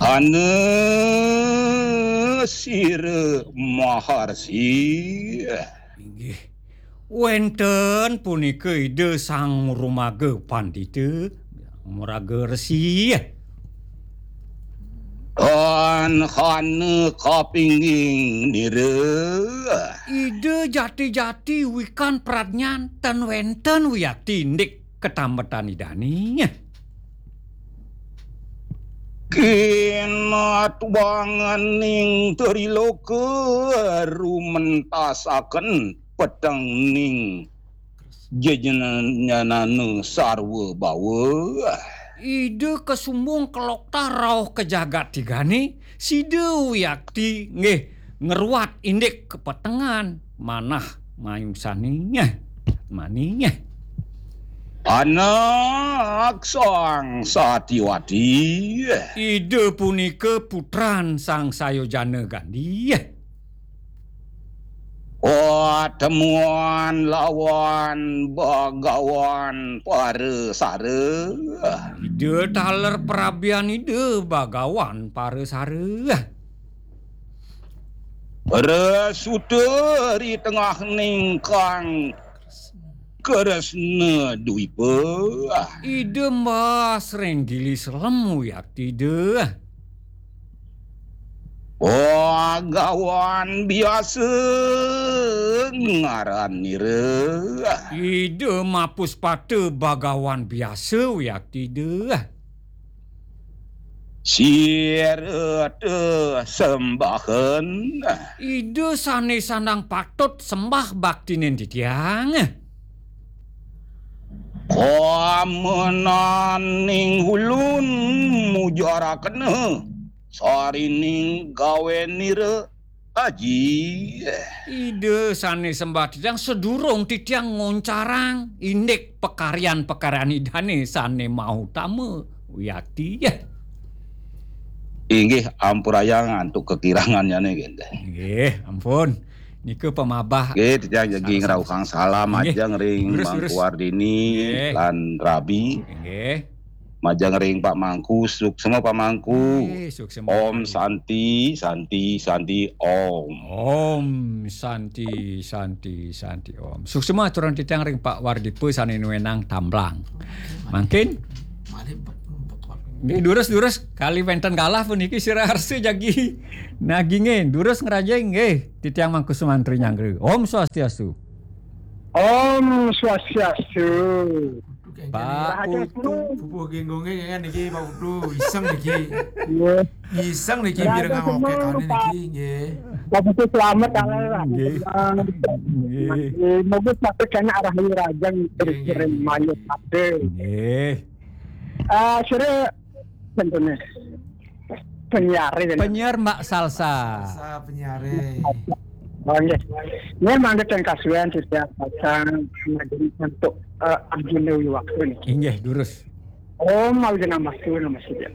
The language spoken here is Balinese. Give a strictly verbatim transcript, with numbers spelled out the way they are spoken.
Ana sira maharsi. Inggih. Wénten punika Ida Sang Maraga Pandita, Maraga Resi. Tan hana kapingging nira. Ida jati-jati wikan pradnyan, tan wénten wiakti indik katambetan Idane. Kinatubanganing triloka rumentasaken petengning jejenenyanana sarwa bawa. Ida kasumbung kaloktah rauh ka jagat tigane, sida wiakti nggih ngruat indik kapetengan manah mayusane. Manih. Anak Sang Satiwati. Ida punika putran Sang Sayojana Gandhi. Patemuan lawan Bagawan Parasara. Ida taler prabian Ida Bagawan Parasara. Resuta ri tengahning kang Kresna Dwipa. Ida mbas ring gili selem wiakti Ida. Bagawan biasa ngaran nira. Ida mapuspata Bagawan biasa wiakti Ida. Sirata sembahan. Ida sane sandang patut sembah baktinin titiang. Kamenaning ulun mujarakena sarining gawenira aji. Ida sane sembah titiang, sadurung titiang ngoncarang indik pakaryan-pakaryan Idane sane mautama wiakti. Inggih, ampurayang antuk kekirangannyane, nggih. Nggih, ampun. Nika pamabah. Nggih, titiang jagi sareng-sareng ngrauhang salam. Nggih. Majeng ring Durus, Mangku durus. Wardini. Nggih. Lan Rabi. Nggih. Majeng ring Pak Mangku, suksma Pak Mangku. Nggih, suksma Om Pak Mangku. Santi, Santi, Santi, Om. Om Santi, Santi, Santi, Om. Suksma aturang titiang ring Pak Wardipa sane nuenang tamblang. Mangkin. Nggih, durus, durus, kali wenten galah puniki sira arsa jagi naginge. Durus ngrajing nggih, titiang mangku sumantri nyanggra. Om Swastiastu. Om Swastiastu. Pak Rahayu Putu. Putu. Pupuh Genggonge kan niki Pak Putu, iseng niki. Iya. Iseng niki. Rahayu mireng seneng, ngokekane Pak. Niki, nggih. Pak Putu selamat, kalah lah. Nggih. Senang. Nggih. Nggih, moga sampai kena arah Rahayu Rajang. Nggih, nggih, terus nggih. Mayu kabeh. Nggih. Ah, sira, contohnya. Penyiar, ya. Penyiar Mbak Salsa. Salsa penyiar. Oh, nggih. Ini mangga ten kasuan setiap pasang untuk, eh, Arjuna Wiwaktu nih. Inggih, durus. Om Arjuna Mastu Namo Sidya.